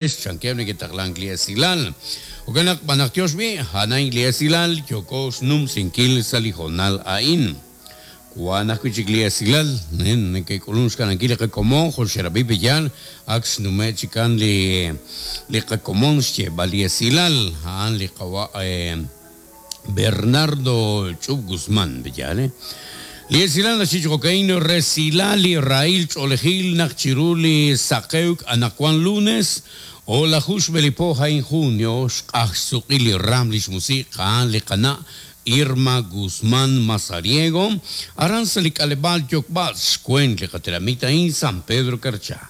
Chankeb' neke'taqlank li esilal. Jo'kan naq b'anaqtiox b'i', a'an li esilal yooko xnumsinkil sa' li hoonal a'in. Wan ajwi' chik li esilal neke'k'ulunk xkanankil li qakomon jo' xerab'i pe'yaal ak xnume' chikan li li qakomon xyeeb'al li esilal a'an li qawa' Bernardo Ch'ub Guzmán pe'yaal. Li esilal naxye chi jo'ka'in resilal li rahil ch'oolejil naq chiru li saqewk anaqwan lunes o'laju xb'e li po a'in junio xq'aj xsuq'il li raam lix musiq' a'an li qana' Irma Guzmán Mazariego aran sa' li k'aleb'aal Yokb'atz xweent li qatenamit a'in San Pedro Carchá.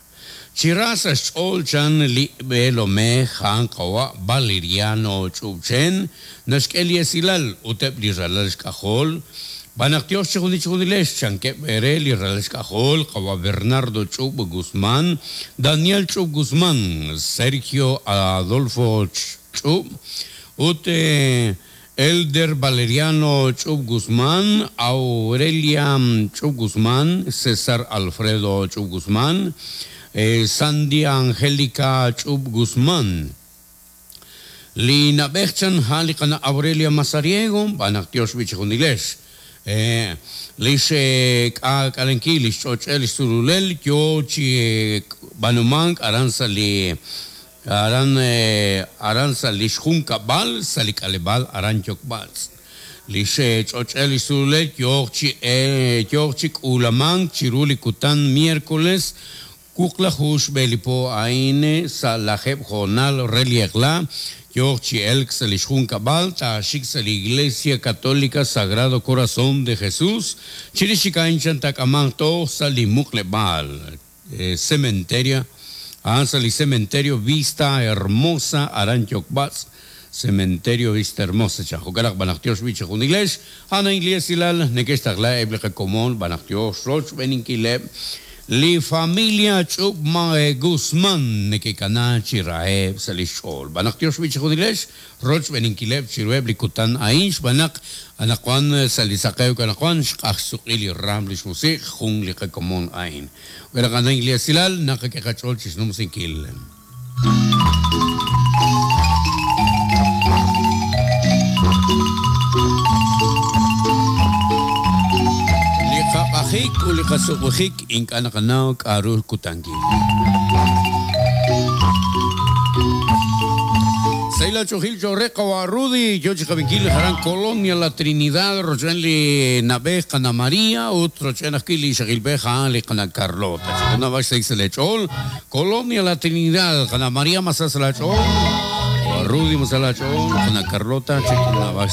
Chi ra sa' xch'ool chan li b'eelomej a'an qawa' Valeriano Ch'ub'chen naxk'e li esilal ut eb' li ralal xk'ajol, B'anaq Yos chijunil chijunilex, chankeb' re li ralal xk'ajol qawa' Bernardo Ch'ub' Guzmán, Daniel Ch'ub' Guzmán, Sergio Adolfo Ch'ub' ut Elder Valeriano Ch'ub Guzmán, Aurelia Ch'ub Guzmán, César Alfredo Ch'ub Guzmán, Sandy Angélica Ch'ub Guzmán. Li na'b'ej chan a'an li qana' Aurelia Mazariego, b'anaq Yos b'i' chijunilex. Lix k'aak'alenkil lix ch'och'el lix sululel yo chi b'aanumank aran sa' li Aran aran sa' li xjunkab'al sa' li k'aleb'aal aran Yokb'atz'. Li xch'och'el li sululel yooq chi yooq chi k'uulamank chiru li kutan miércoles wuqlaju xb'e li po a'in sa' lajeeb' hoonal re li eq'la yooq chi elk sa' li xjunkab'al taaxik sa' li Iglesia Católica Sagrado Corazón de Jesús chirix chik a'in chan taak'amanq toj sa' li muqleb'aal Cementerio, a'an sa' li Cementerio Vista Hermosa aran Yokb'atz', Cementerio Vista Hermosa chan. Jo'kan naq b'anaqtiox b'i' chijunilex, a'an a'in li esilal neke'xtaqla eb' li qakomon b'anaqtiox rochb'eeninkileb' li familia Ch'ub' Guzman neke'kana chi raheb' sa' lix ch'ool. B'anaqtiox b'i' chijunilex rochb'eeninkileb' chiruheb' li kutan a'in xb'aan naq anaqwan sa' li saqewk anaqwan xq'aj xsuq'il li raam lix musiq' jun li qakomon a'in. Wi naqanaw li esilal, naqak'e qach'ool chixnumsinkil. Li qaq'ajik ut li qasuq'ujik ink'a' naqanaw k'a'ru kutankil. Sahil ach'ojil cho'q re qawa' Rudy, yo chi qab'inkil aran Colonia La Trinidad rochb'een li na'b'ej qana' Maria ut rochb'een ajwi' li ixaqilb'ej a'an li qana' Carlota. Chi junab'ax sahil sa' leech'ool, Colonia La Trinidad, qana' Maria ma sa sa' laach'ool, qawa' Rudy ma sa' laach'ool, qana' Carlota chi junab'ax.